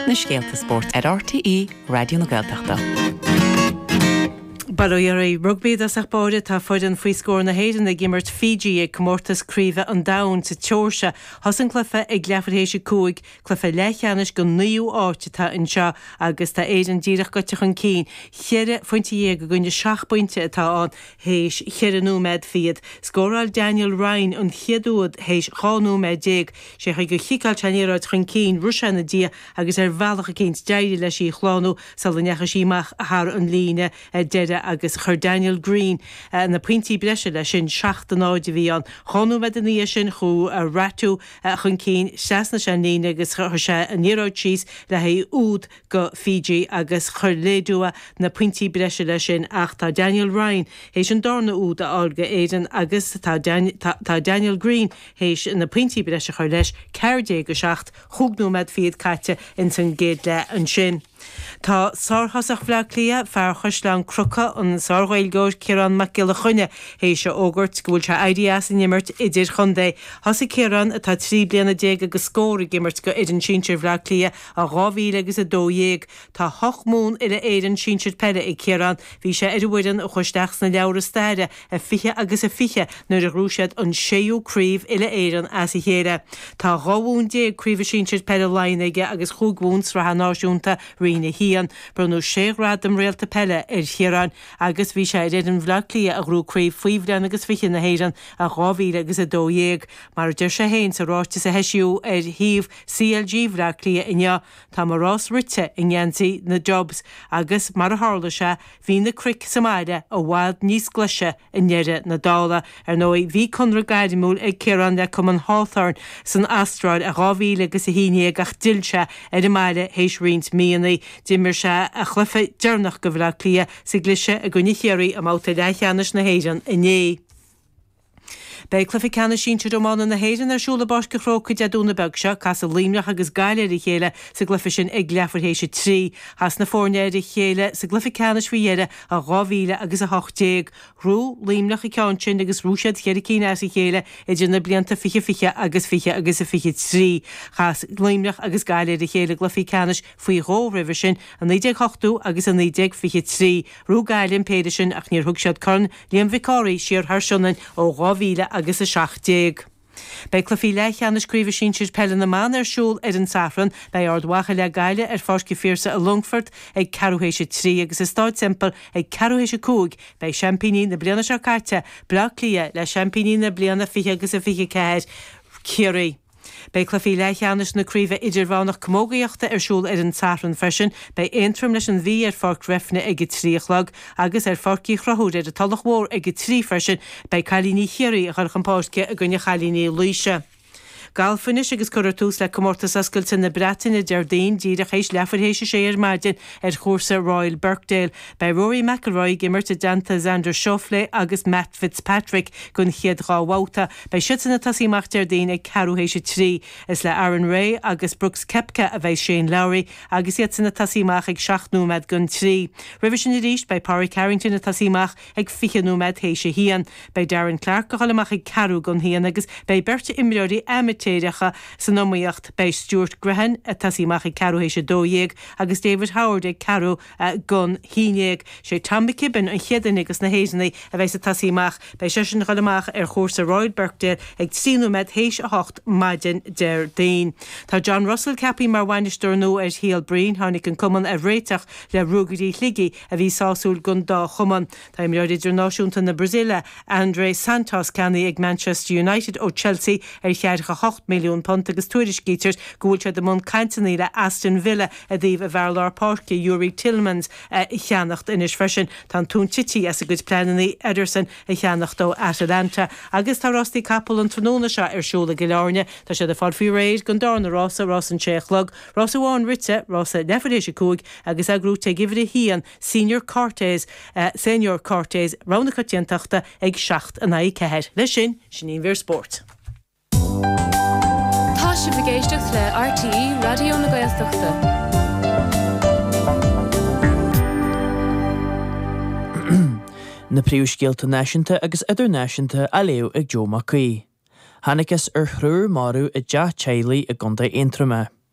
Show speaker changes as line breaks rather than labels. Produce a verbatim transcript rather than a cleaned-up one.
Na scéalta spóirt ar RTÉ Raidió na Gaeltachta.
Bail ó Dhia oraibh rugbaí i dtosach báire tá foireann faoi scór na hÉireann ag imirt Fiji ag comórtas craoibhe an domhain sa tSeoirsia. Thosaigh an cluiche ag leathuair théis a cúig, cluiche leathcheannais don naoú áit atá anseo agus tá Éirinn díreach gaibhte chun cinn. Cheithre phointe dhéag i gcoinne seacht bpointe atá ann théis cheithre nóiméad fichead. Scóráil Daniel Ryan an chéad úd théis dhá nóiméad déag. Sé an chaoi gur chiceáil sé an liathróid chun cinn, rith sé ina diaidh agus ar bhealach eicínt d'éirigh leis í a shlánú sula ndeachaigh sí amach thar an líne deiridh agus chuir Daniel Green na pointí breise leis sin, seacht a náid a bhí ann. Dhá nóiméad ina dhiaidh sin chuaigh Ratu chun cinn, thrasnaigh sé an líne agus chuir sé an liathróid síos le haghaidh úd go Fiji agus chuir Ledua na pointí breise leis sin ach tá Daniel Ryan théis an darna úd a fháil go Éirinn agus tá tá Daniel Green théis na pointí breise a chur leis, ceathair déag a seacht, chúig nóiméad fichead caite ins an gcéad leath ansin. Tá sárthosach Bhaile Átha Cliath, fear Chaisleán Cnucha, an sár-Ghaeilgeoir Ciarán Mac Giolla Chainnigh, théis a fhógairt go bhfuil sé éirithe as an imirt idirchontae. Thosaigh Ciarán, atá trí bliana déag agus scór, ag imirt go fhoireann sinsir Bhaile Átha Cliath i dhá mhíle agus a dó dhéag. Tá hocht mbonn uile-Éireann sinsir peile ag Ciarán. Bhí sé ar an bhfoireann a chuaigh isteach sna leabhra staire i fiche agus a fiche nuair a ghnóthaigh siad an séú craobh uile-Éireann as a chéile. Tá dhá bhonn déag craoibhe sinsir peile Laighean aige agus chúig bhonn sraithe náisiúnta Roinn a haon. Bronnadh sé ghradam Réalta Peile ar Chiarán agus bhí sé ar fhoireann Bhaile Átha Cliath a ghnóthaigh Craobh Faoi Bhliain agus Fiche na hÉireann i dhá mhíle agus a dó dhéag. Mar a deir sé féin sa ráiteas a heisíodh ar shuíomh CLG Bhaile Átha Cliath inniu, Tá mo rás rite i ngeansaí na Dubs agus mar a tharla sé, bhí na cnoic sa mbaile i bhfad níos glaise i ndeireadh na dála. Ar ndóigh, bhí conradh gairmiúil ag Ciarán le cumann Hawthorn san Astráil i dhá mhíle agus a haon déag ach d'fhill sé ar an mbaile théis roinnt míonna. D'imir sé a chluiche deireanach go Bhaile Átha Cliath sa gcliseadh i gcoinne Chiarraí i mbabhta leathcheannais na hÉireann inné. Beidh Cluiche Ceannais Sinsir Iomána na hÉireann ar siúl i bPáirc an Chrócaigh Dé Domhnaigh beag seo. Casfaidh Luimneach agus Gaillimh ar a chéile sa gcluiche sin ag leathuair théis a trí. Chas na foirne ar a chéile sa gcluiche ceannais faoi dheireadh i dhá mhíle agus a hocht déag. Ghnóthaigh Luimneach an ceann sin agus ghnóthaigh siad cheithre cinn as a chéile idir na blianta fiche fiche agus fiche agus a fiche trí. Chas Luimneach agus Gaillimh ar a chéile i gcluichí ceannais faoi dhó roimhe sin, i naoi déag ochtó agus i naoi déag fiche trí. Ghnóthaigh Gaillimh an péire sin ach níor thug siad Corn Liam Mhic Cárthaigh siar thar Sionainn ó dhá mhíle agus a seacht déag. Beidh cluichí leathcheannais Craoibhe Sinsir Peile na mBan ar siúl ar an Satharn. Beidh Ard Mhacha le Gaillimh ar Pháirc an Phiarsaigh i Longfort ag ceathrú théis a trí agus i Stáid Semple ag ceathrú théis a cúig beidh seaimpíní na bliana seo caite, Bleá Cliath, le seaimpíní na bliana fiche agus a fiche ceathair, Ciarraí. Beidh cluichí leathcheannais na Craoibhe Idirmheánach Camógaíochta ar siúl ar an Satharn freisin. Beidh Aontroim leis an Mhí ar Pháirc Bhreifne ag a trí a chlog agus ar Pháirc Uí Chonchúir ar an Tulach Mhór ag a trí freisin beidh cailíní Chiarraí ag dul chun páirce i gcoinne chailíní Laoise. Galf anois agus cuirfear tús le Comórtas Oscailte na Breataine Déardaoin díreach théis leathuair théis a sé ar maidin ar chúrsa Royal Birkdale. Beidh Rory McIlroy ag imirt i dteannta Xander Schauffele agus Matt Fitzpatrick don chéad dhá bhabhta. Beidh siadsan ag tosaí amach Déardaoin ag ceathrú théis a trí. Is le Aaron Rai agus Brooks Koepka a bheidh Shane Lowry agus iadsan ag tosaí amach ag seacht nóiméad don trí. Roimhe sin arís beidh Pádraig Harrington ag tosaí amach ag fiche nóiméad théis a haon. Beidh Darren Clarke ag dul amach ag ceathrú don haon agus beidh beirt imreoirí amaitéireacha san iomaíocht. Beidh Stuart Grehan ag tosaí amach ag ceathrú théis a dó dhéag agus David Howard ag ceathrú don haon dhéag. Sé Tom McKibbin an chéad duine de na hÉireannaigh a bheas ag tosaí amach. Beidh seisean ag dul amach ar chúrsa Royal Birkdale ag trí nóiméad théis a hocht maidin Déardaoin. Tá John Russell ceaptha mar bhainisteoir nua ar Shíol Broin. Tháinig an cumann ar réiteach le Ruagairí Shligigh a bhí sásúil don dá chumann. Tá imreoir idirnáisiúnta na Brasaíle, André Santos ceannaithe ag Manchester United ó Chelsea ar cheathracha a hocht milliún punt agus tuairiscítear go bhfuil siad i mbun cainteanna le Aston Villa i dtaobh a bhfear lár páirce Youri Tielemans a cheannacht anois freisin. Tá an tóin tite as a gcuid pleananna Ederson a cheannacht ó Atalanta. Agus tá rástaí capall an tráthnóna seo ar siúl i gCill Airne. Tá siad ag fáil faoi réir don darna rása, rás an sé a chlog, rás amháin rite, rása leathuair théis a cúig agus é gnóite ag uimhir a haon, Senior Cortez, Senor Cortez, rogha na coitiantachta ag seacht in aghaidh a ceathair. Leis sin, sin í an mhír spóirt.
Tá sibh ag éisteacht le RTÉ Raidió na Gaeltachta.
Na príomhscéalta náisiúnta agus idirnáisiúnta á léamh ag Joe Mac Aoidh. Thángthas ar thriúr marbh i dteach teaghlaigh i gContae Aontroma.